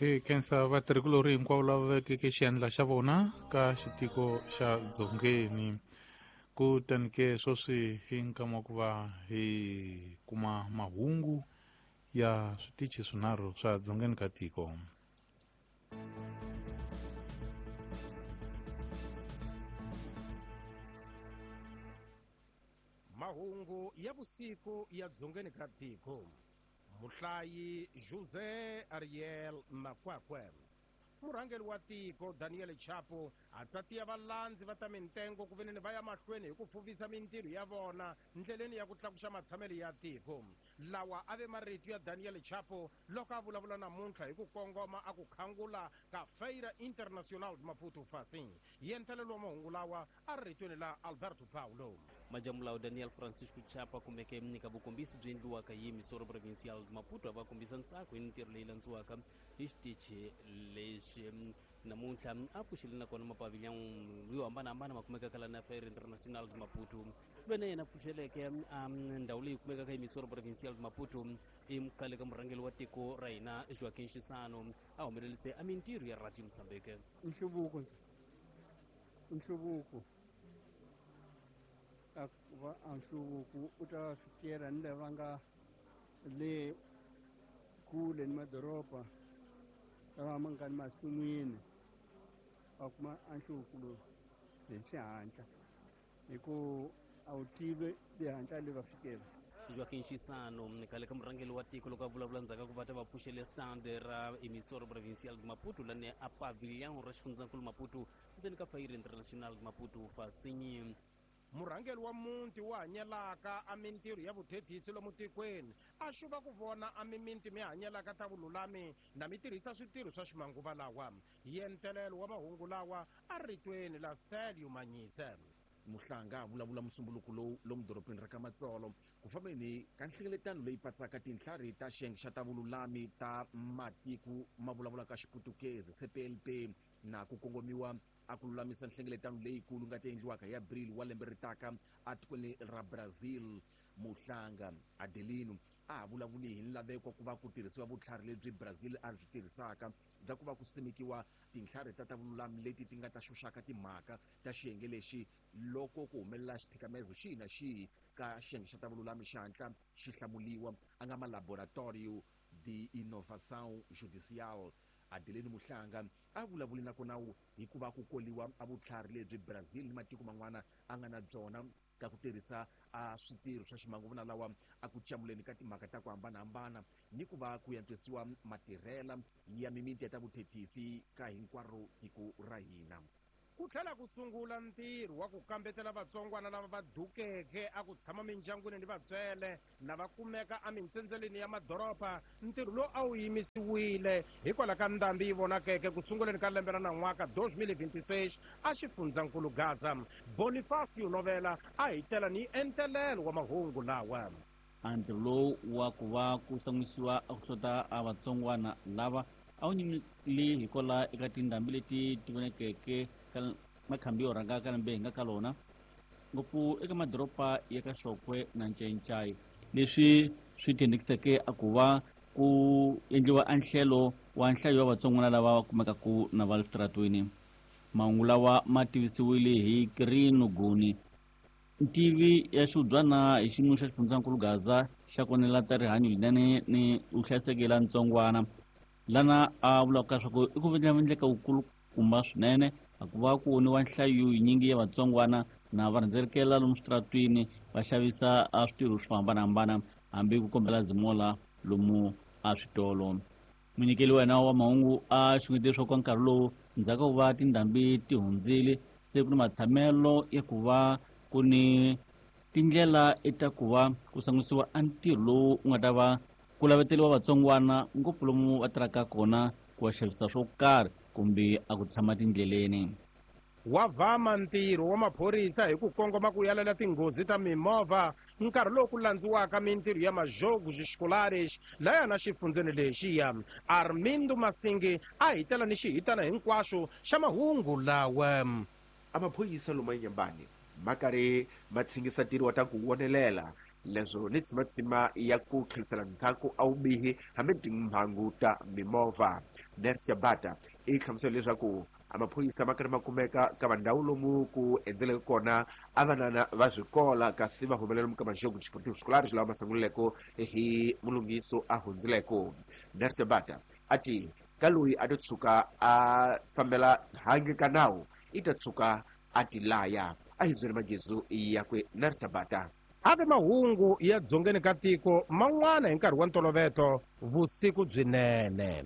Hi khensa vatirhikulorhi hinkwavo lava vekeke xiandla xa vona ka xitiko xa Dzongeni. Kutani ke sweswi hi nkama wa ku va hi kuma mahungu ya switichi swinharhu swa dzongeni ka tiko. Mahungu ya vusiku ya dzongeni ka tiko. Muhlayi José Ariel Makwakwe. Murhangeri wa tiko Daniel Chapo a tsatsiya valandzi va ta mintengo ku veneni va ya mahlweni hi ku fuvisa mintirho ya vona ndleleni ya ku tlakuxa matshamelo ya tiko. Lawa a ve marito ya Daniel Chapo loko a vulavula namuntlha hi ku kongoma a ku khangula ka Feira Internacional de Maputo Facim. Yentelelo wa mahungu lawa a ri ritweni la Alberto Paulo. Majamulawu Daniel Francisco Chapa kumeke nyika vukombisi byi endliwaka hi Missouri Provincial Maputo a va kombisa ntsako hi mintirho leyi landziwaka hi xitichi lexi namuntlha a pfuxile nakona mapavilhão yo hambanahambana ma kumekaka la na Feira Internacional de Maputo ve na yena pfuxeleke ndhawu leyi kumekaka hi Missouri Provincial de Maputo i khale ka murhangeri wa tiko ra hina Joaquim Chissano a humelerise a mintirho ya Radio Mozambique. Nhluvuko nhluvuko a va a nhluvuko u ta fikela ni lava nga le kule ni madoroba lava ma nga ni masin'wini va kuma a nhluvuko lowu hi xihatla hi ku a wu tivi le le va fikela. Joaquim Chissano khale ka murhangeri wa tiko loko a vulavula ndzhaku ka ku va ta va pfuxele stand ra Emissora Provincial de Maputo lani a pavilhão ra xifundzankulu Maputo ndzeni ka Feira Internacional de Maputo Fasinyi. Murhangeri wa muti wu hanyelaka a mintirho ya vuthethisi lomu tikweni a xuva ku vona a mimiti mi hanyelaka ta vululami na mi tirhisa switirho swa ximanguva lawa. Yentelelo wa mahungu lawa a ritweni la Stelio Manyise. Muhlanga a vulavula musumbuluko lowu lomu dorobeni ra ka Matsolo ku fambeni ka nhlengeletano leyi patsaka tinhlari ta xiyenge xa ta vululami ta matiko ma vulavulaka Xiputukezi CPLP na ku kongomiwa a ku lulamisa nhlengeletano leyikulu nga ta endliwaka hi Abril wa lembe ri taka atikweni ra Brazil. Muhlanga Adelino a ha vulavuli hi nlaveko ku va ku tirhisiwa vutlhari lebyi Brazil a byi tirhisaka bya ku va ku simekiwa tinhlari ta ta vululami leti ti nga ta xuxaka timhaka ta xiyenge lexi loko ku humelela xithikamezo xihi na xihi ka xiyenge xa ta vululami xi hatla xi hlamuliwa a nga ma Laboratorio de Inovação Judicial. Adelino Muhlanga a vulavuli nakona hikuva ku koliwa a vutlhari lebyi Brazil ni matiko man'wana a nga na byona ka ku tirhisa a switirho swa ximanguva lawa a ku camuleni ka timhaka ta ku hambanahambana ni ku va ku antswisiwa matirhela ya mimiti ya ta vuthethisi ka hinkwaro tiko ra hina. Ku tlhela ku sungula ntirho wa ku kambetela vatsongwana lava va dukeke a ku tshama mindyangwini ni vatswele na va kumeka emintsendzeleni ya madoroba. Ntirho lowu a wu yimisiwile hikwalaho ka ndhambi yi vonakeke ku sunguleni ka lembe ra nan'waka 2026 a xifundzankulu Gaza. Bonifacio Novela a hi tela ni entelelo wa mahungu lawa. A ntirho lowu wa ku va ku san'wisiwa a ku hlota a vatsongwana lava a wu nyimile hikwalaho eka tindhambi leti ti vonekeke ka makhambi yo rhanga ka lembe hi nga ka lona ngopfu eka madoroba ya ka Xokwe na Ncencai, leswi swi tendekiseke a ku va ku endliwa a nhlelo wa nhlayo ya vatsongwana lava va kumekaka na va le switaratweni. Mahungu lawa ma tivisiwile hi Kirino Guni, ntivi ya xiubyana hi xiyimo xa xifundzankulu Gaza xa konela ta rihanyo linene ni vuhlayiseki la ntsongwana, lana a vulaka leswaku i ku endleka wukulukumba swinene a ku va ku voniwa nhlayo yinyingi ya vatsongwana na va rhendzelekela lomu switaratwini va xavisa a switirho swo hambanahambana hambi ku kombela zimola lomu a switolo. Munyikeli wa hina wa mahungu a xungete leswaku ka nkarhi lowu ndzhaku ka ku va tindhambi ti hundzile se ku ni matshamelo ya ku va ku ni tindlela ta ku va ku sangusiwa a ntirho lowu wu nga ta va ku laveteriwa vatsongwana ngopfu lomu va tirhaka kona ku va xavisa swo karhi kumbe a ku tshama tindleleni. Wa vama ntirho wa maphorisa hi ku kongoma ku yalela tinghozi ta mimovha nkarhi lowu ku landziwaka mintirho ya Majogos Escolares laya na xifundzeni lexiya. Armindo Masingi a hi tela ni xihitana hinkwaxo xa mahungu lawa. A maphorisa lomu eNyambani ma karhi ma tshingisa ntirho wa ta ku wonelela. Leswo ni tshimatsima ya ku tlherisela ndzhaku a vubihi hambi timhangu ta mimovha. Nercia Bata i hlamusela leswaku a maphorisa ma karhi ma kumeka ka vandhawu lomu ku endzeleke kona a vanana va swikola, kasi va humelela lomu ka majogo desportivo escolares lawa ma sungulileko hi mulunghiso a hundzileko. Nercia Bata a ti ka loyi a to tshuka a fambela handle ka nawu i ta tshuka a ti laya. A hi zwele magezu yakwe Nercia Bata. Ave mahungu ya dzongeni ka tiko man'wana hi nkarhi wa ntoloveto vusiku byinene.